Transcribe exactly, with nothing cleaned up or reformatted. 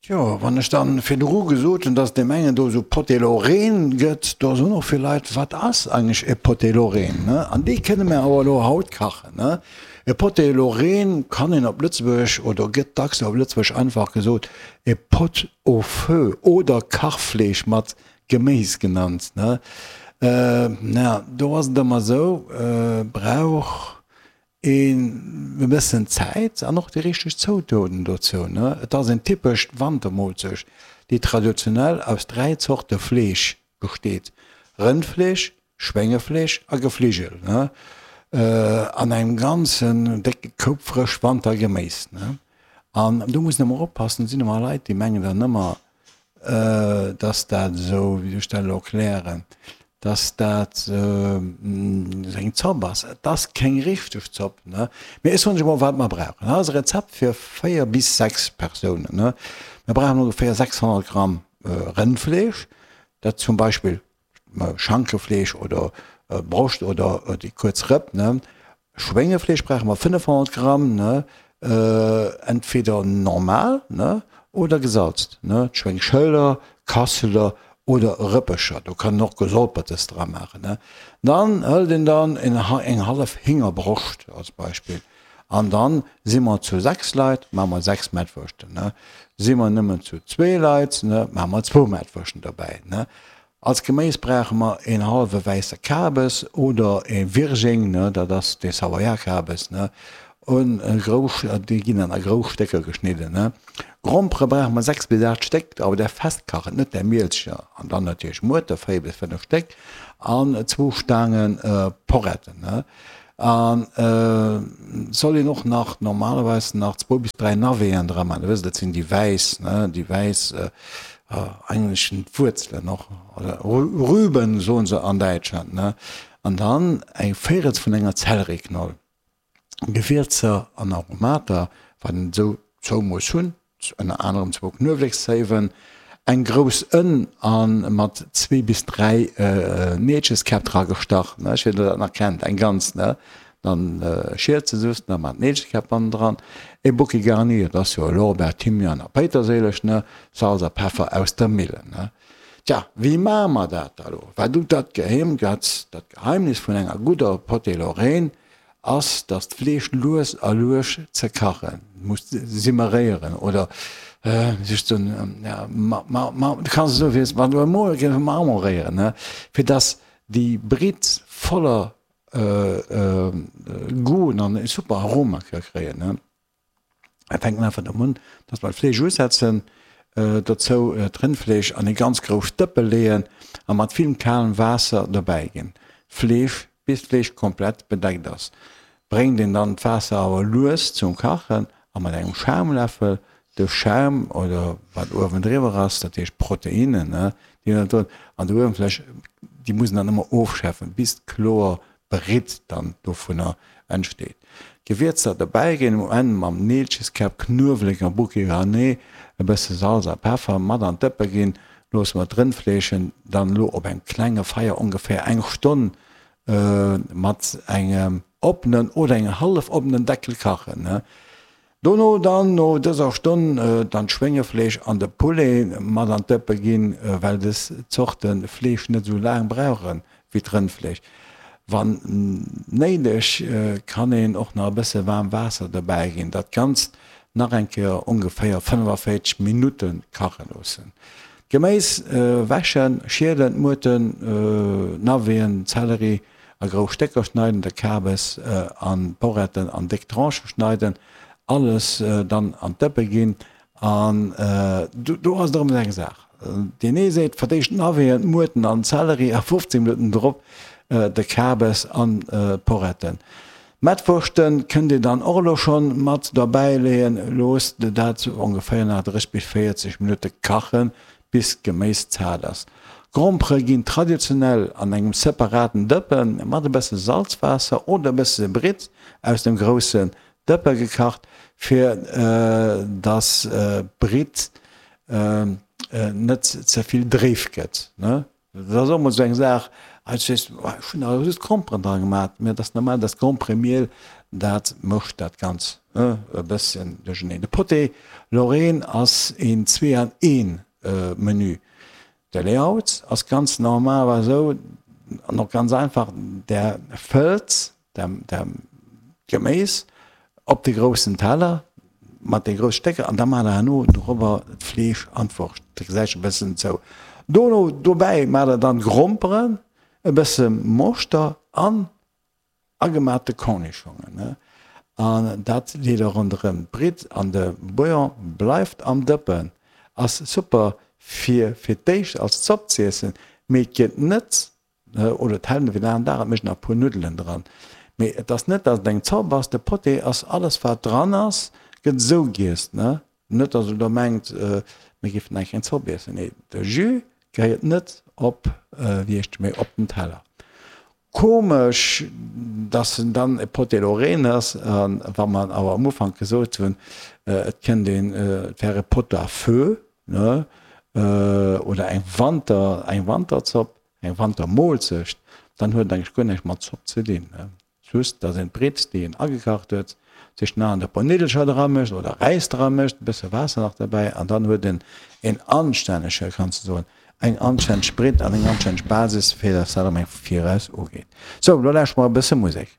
Tjo, wann ech dann virdru gesot hunn, dass deem engen do esou Potée Lorraine gëtt, do soen och vill Leit, wat ass eigentlech e Potée Lorraine, ne? An dee kënne mir awer elo haut kachen, ne? E Potée Lorraine kann een op Lëtzebuergesch, oder gëtt dacks op Lëtzebuergesch einfach gesot, e Pot au feu oder Kachfleesch mat Geméis genannt, ne? Na, do ass et ëmmer esou, brauch een e bëssen Zäit an och déi richteg Zoutoten dozou, ne? Et ass en typescht Wantermolzecht, déi traditionell aus dräi Zorte Fleesch besteet, Rëndfleesch, Schwéngefleesch a Gefligel, ne? An engem ganzen décke Koup frëscht Wantergeméis, ne? An do muss een ëmmer oppassen, et sinn ëmmer Leit, déi mengen dann ëmmer, dass dat esou, wéi soll ech dat elo erklären, dass dat esou eng Zopp ass. Et ass keng richteg Zopp, ne? Mee ech soen lech emol, wat mer brauchen. Dat ass e Rezept fir véier bis sechs Persounen, ne? Mir brauchen ongeféier sechshonnert Gramm Rëndfleesch, dat zum Beispill Schankefleesch oder Broscht oder déi kuerz Rëpp, ne? Schwéngefleesch brauche mer fënnefhonnert Gramm, ne, entweder normal, ne, oder gesalzt, ne, d'Schwéngschëller, Kasseler oder Rëppecher, do kann een och Gesolpertes dra maachen, ne. Dann hëlt een dann eng hallef Héngerbroscht als Beispill an dann si mer zu sechs Leit, maache mer sechs Mettwurschten, ne. Si mer nëmmen zu zwee Leit, ne, maache mer zwou Mettwurschten dobäi, ne. Als Geméis brauche mer een hallwe wäisse Kabes oder ee Virging, ne, dat ass dee Savoyard-Kabes, ne, un grouss, déi ginn dann a grouss Stécker geschnidden, ne. Grompere brauche mer sechs bis aacht Stéck, awer där festkachen, net där Mielcher, an dann natierlech Muerte, véier bis fënnef Stéck, an zwou Staange Poretten, ne. An et soll een och nach normalerweis nach zwou bis dräi Naveten dra man. Dir wësst, dat sinn déi wäiss, ne, déi wäiss, eigentlech d'Wuerzelen och, oder Rüben soen se an Däitschland, ne. An dann eng Véirels vun enger Zellerieknoll. Gewierzer an Aromater, wat een esou zou muss hunn, ënner anerem zwou Knuewlekszéiwen, eng grouss Ënn a mat zwee bis dräi Neelcheskäpp dra gestach, ne, ech weess net, ob der dat nach kennt, eng ganz, ne, dann schielt se just nach mat Neelcheskäpp bannendran, e Bouquet garni, dat ass jo Lorbeer, Thymian a Péiterséileg, ne, Salz a Peffer aus der Millen, ne. Tja, wéi maache mer dat da lo? Wat u dat Geheimnis vun enger gudder Potée Lorraine ass, dass d'Fleesch lues a lues ze kachen, muss simmeréieren oder sech ze, ja, ma, ma, ma, du kanns esou wéi wann du emol géif marmoréieren, ne, fir dass déi Britt voller Goût an e super Aroma ka kréien, ne. Mir fänken einfach domat un, dass mer d'Fleesch usetzen, dozou d'Rëndfleesch an ee ganz grousst Dëppe leeën a mat vill kalem Waasser dobäi ginn. D'Fleesch, bis d'Fleesch komplett bedeckt ass, bréngt een dann d'Waasser awer lues zum Kachen a mat engem Schaumläffel de Schaum oder wat uewen driwwer ass, dat heescht d'Proteinnen, déi dann do an der Uewenfläch, déi muss een dann ëmmer ofschäffen, bis d'kloer Britt dann dovunner entsteet. D'Gewierzer dobäi ginn, um Enn mam Neelcheskäpp, Knuewelek a Bouquet garni, e bësse Salz a Peffer mat an d'Dëppe ginn. Loosse mer d'Rëndfleeschen dann elo op engem klenge Feier ongeféier eng Stonn mat engem oppenen oder engem hallef oppenen Deckel kachen. Dono dann no dëser Stonn dann d'Schwéngefleesch an de Poulet mat an d'Dëppe ginn, well des Zorte Fleesch net esou laang brauche wéi d'Rëndfleesch. Wann néideg kann een och nach e bësse waarm Waasser dobäi ginn. Dat Ganzt nach eng Kéier ongeféier fënnefaféierzeg Minutte kache loossen. D'Geméis wäschen, schielen, d'Muerten, Naveten, Zelleri a grouss Stécker schneiden, de Kabes an d'Poretten an déck Tranchë schneiden. Alles dann an d'Dëppe ginn an do ass et erëm eng Saach, deen ee seet verdéischt d'Naveten, d'Muerten an den Zelleri a fofzéng Minutten drop de Kabes an d'Poretten. D'Mettwurschten kënnt dir dann och elo schonn mat derbäi leeën. Loosst dat ongeféier nach dréisseg bis véierzeg Minutte kachen, bis d'Geméis zart ass. D'Grompere ginn traditionell an engem separaten Dëppe mat e bësse Salzwaasser oder e bësse Britt aus dem groussen Dëppe gekacht, fir dass d'Britt net ze vill dréif gëtt. Dat ass och emol esou eng Saach, ech weess, ech hunn awer just Gromperen dra gemaat, mä et ass normal, dass Gromperemiel Dat mécht dat Ganz e bësschen duercherneen. De Pâté Lorraine ass een zwee an een Menü. De Layout ass ganz normal esou an och ganz einfach, Der fëllt d'Geméis op de groussen Teller mat de grousse Stécker an da maacht der herno dorobber d'Fleesch an d'Wurscht. Dat gesäit scho e bëssen zou. Dono dobäi maacht der dann Gromperen, e bësse Moschter an agemaachte Cornischongen. An dat leet der ronderëm d'Britt an de Bouillon bleift am Dëppen. Ass super fir fir d'éischt als Zopp z'iessen, mee et gëtt net, oder et hält net fir den aneren Dag, et mécht nach e puer Nuddelen dran, mee et ass net dass et eng Zopp ass, de Potee ass alles wat dran ass gëtt esou giess, ne net dass der elo mengt mir géifen eng kleng Zopp iessen, nee de Jus gehéiert net op wéi heescht mee op den Teller. Komesch, dass en dann e Potée Lorraine ass, a wa mer awer am Ufank gesot hunn, et kënnt een, et wär e Pot à feu, ne, oder eng Wanter, eng Wanterzopp, eng Wantermoolzecht, dann huet et eigentlech guer näischt mat Zopp ze dinn. Just, dass een d'Britt, déi een agekacht huet, sech nach e puer Niddelcher dra mécht oder Räis dra mécht, e bësse Waasser nach derbäi an dann huet een een anstännege, kanns de soen, eng anstänneg Britt an eng anstänneg Basis, fir dass dat am eng viraus ugeet. Sou, lo lauschteren mer e bësse Musek.